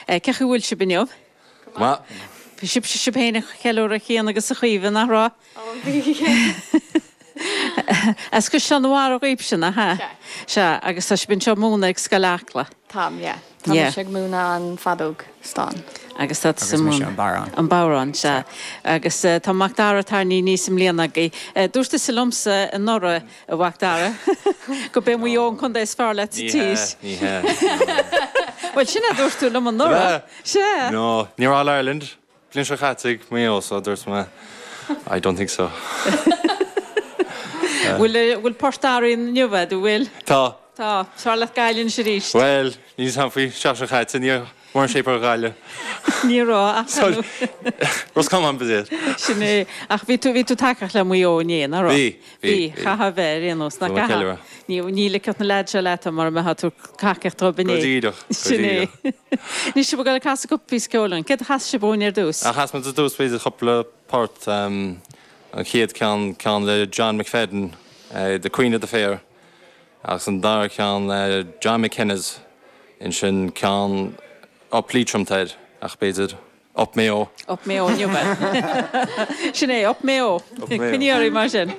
Cén chaoi a bhfuil sibh inniu? Go maith. Bhí sibh sibh féin ag ceiliúradh a Chian agus a Chaoimhe, nach raibh? Ó bhí. As Caisleán an Bharraigh dhaoibhse, nach ea? Sea. Sea, agus tá sibh anseo ag múineadh ag Scoil Acla. Táim, yeah. Tá Yeah. mise ag múineadh an feadóg stáin. Agus tá tusa Agus ag mise múineadh an bodhrán. an bodhrán, sea. Agus tá Macdara tarraingthe aníos i mbliana agaibh. Dúirt tusa liomsa anuraidh, a Mhacdara, go b'é Maigh Eo an contae is fearr leat sa Ní tír. hea, ní hea. No. Bhuel, sin é a dúirt tú liom anuraidh. Sea. No, ní raibh All Ireland bliain seo caite ag Maigh Eo so dúirt mé I don't think so. Bhfuil, bhfuil port athraithe inniu agat, an bhfuil? Tá. Tá. Is fearr leat Gaillimh anois arís. Bhuel, níl 'fhios a'm faoi seachtain seo caite, ní raibh mórán shape ar Ghaillimh. Ní raibh, ach So, Roscommon ba iad. Sin é. Ach bhí tú, bhí tú tacaíocht le Maigh Eo inné, nach raibh? Bhí, bhí, Bhí, bhí. chaithfeá a bheith ar aon nós, nach Bhí mé gcaithfeá? ceiliúradh. Ní, ní ligfeadh na leaids seo leat mura mbeifeá ag tabhairt tacaíocht dóibh inné. Go díreach, go Sin é. díreach. Anois sibh ag dul ag casadh cúpla píosa ceoil dúinn. Céard a chas sibh dhúinn ar dtús? Chas muid ar dtús b'fhéidir cúpla port. An chéad ceann, ceann le John McFadden, The Queen of the Fair. Agus an dara ceann le John McKenna's, ansin ceann Up Leitrim tá air, ach b'fhéidir Up Mayo. Up Mayo inniu é. Sin é, Up Mayo. Up Mayo. Coinnigh oraibh mar sin.